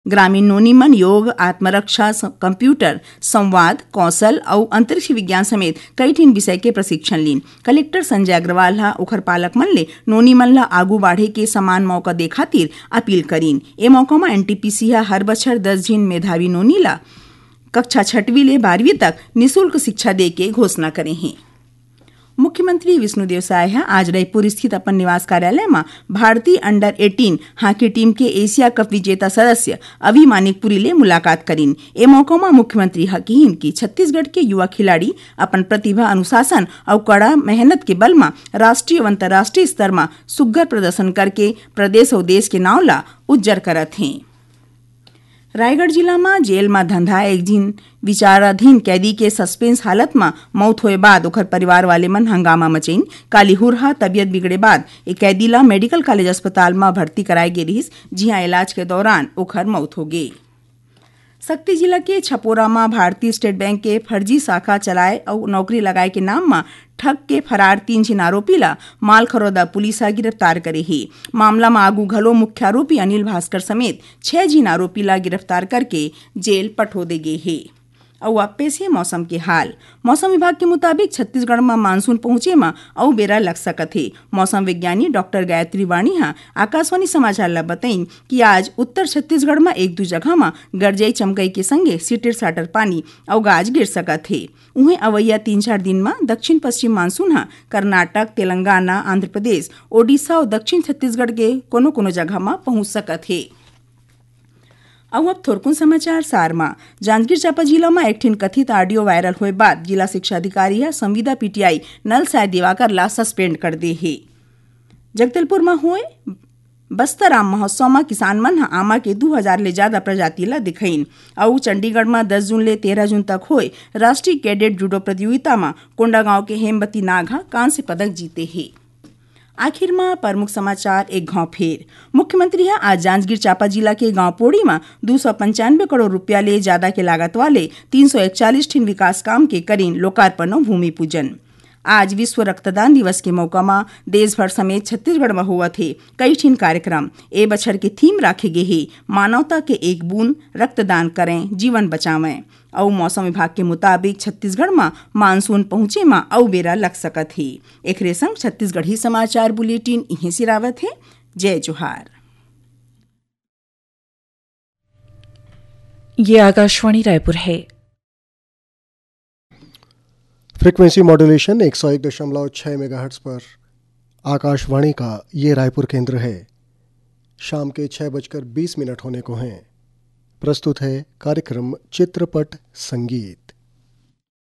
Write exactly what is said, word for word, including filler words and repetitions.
ग्रामीण नोनी मन योग, आत्मरक्षा, स-, कंप्यूटर, संवाद कौशल अउ अंतरिक्ष विज्ञान समेत कई ठिन विषय के प्रशिक्षण लीन। कलेक्टर संजय अग्रवाल ह ओखर पालक मन ले नोनी मन ल आगू बाढ़े के समान मौका दे खातिर अपील करीन। ए मौका म एनटीपीसी ह हर बछर दस झिन मेधावी नोनी ल कक्षा छठवीं ले बारहवीं तक निशुल्क शिक्षा दे के घोषणा करे हे। मुख्यमंत्री विष्णुदेव साय ह आज रायपुर स्थित अपन निवास कार्यालय म भारतीय अंडर एटीन हॉकी टीम के एशिया कप विजेता सदस्य अवि मानिकपुरी ले मुलाकात करीन। ए मौका म मुख्यमंत्री ह किहीन कि छत्तीसगढ़ के युवा खिलाड़ी अपन प्रतिभा, अनुशासन अउ कड़ा मेहनत के बल म राष्ट्रीय अउ अंतर्राष्ट्रीय स्तर म सुग्घर प्रदर्शन करके प्रदेश अउ देश के नाव ल उज्जर करत हें। रायगढ़ जिला म जेल म धंधा एक झिन विचाराधीन कैदी के सस्पेंस हालत म मौत होए बाद ओखर परिवार वाले मन हंगामा मचइन। काली हुरहा तबियत बिगड़े बाद ए कैदी ल मेडिकल कॉलेज अस्पताल म भर्ती कराए गे रिहिस, जिहां इलाज के दौरान ओखर मौत हो गे। सक्ती जिला के छपोरा म भारतीय स्टेट बैंक के फर्जी शाखा चलाए अउ नौकरी लगाए के नाम म ठग के फरार तीन झिन आरोपी ल मालखरौदा पुलिस ह गिरफ्तार करे हे। मामला म आगू घलो मुख्य आरोपी अनिल भास्कर समेत छह झिन आरोपी ल गिरफ्तार करके जेल पठो दे गे हे। अउ अब पेश हे मौसम के हाल। मौसम विभाग के मुताबिक छत्तीसगढ़ म मानसून पहुंचे म अउ बेरा लग सकत हे। मौसम विज्ञानी डॉक्टर गायत्री वाणी ह आकाशवाणी समाचार ल बतइन कि आज उत्तर छत्तीसगढ़ म एक दू जगह म गरजई चमकई के संगे सिटिर साटर पानी अउ गाज गिर सकत हे। उहें अवइया तीन चार दिन म दक्षिण पश्चिम मानसून ह कर्नाटक, तेलंगाना, आंध्र प्रदेश, ओडिशा अउ दक्षिण छत्तीसगढ़ के कोनो कोनो जगह म पहुंच सकत हे। अउ अब थोरकुन समाचार सार म। जांजगीर चांपा जिला म एक ठिन कथित ऑडियो वायरल होए बाद जिला शिक्षा अधिकारी ह संविदा पीटीआई नल साय दिवाकर ला सस्पेंड कर दे हे। जगदलपुर म होए बस्तर आम महोत्सव म किसान मन ह आमा के दू हजार ले जादा प्रजाति ल दिखइन। अउ चंडीगढ़ म दस जून ले तेरह जून तक होए राष्ट्रीय कैडेट जूडो प्रतियोगिता म कोंडागांव के हेमवती नाग ह कांस्य पदक जीते हे। आखिर म प्रमुख समाचार एक घाव फेर। मुख्यमंत्री ह आज जांजगीर चांपा जिला के गांव पोड़ी म दू सौ पंचानवे करोड़ रुपया ले जादा के लागत वाले तीन सौ इकतालीस ठिन विकास काम के करीन लोकार्पण अउ भूमि पूजन। आज विश्व रक्तदान दिवस के मौका म देश भर समेत छत्तीसगढ़ म होवत हे कई ठिन कार्यक्रम। ए बछर के थीम राखे गे हे मानवता के एक बूंद रक्तदान करें, जीवन बचावें। अउ मौसम विभाग के मुताबिक छत्तीसगढ़ म मानसून पहुंचे म अउ बेरा लग सकत हे। एखरे संग छत्तीसगढ़ी समाचार बुलेटिन इहें सिरावत हे। जय जोहार। ये आकाशवाणी रायपुर है। फ्रीक्वेंसी मॉड्यूलेशन एक सौ एक दशमलव छह मेगाहर्ट्ज पर आकाशवाणी का ये रायपुर केंद्र है। शाम के छह बजकर बीस मिनट होने को हैं। प्रस्तुत है कार्यक्रम चित्रपट संगीत।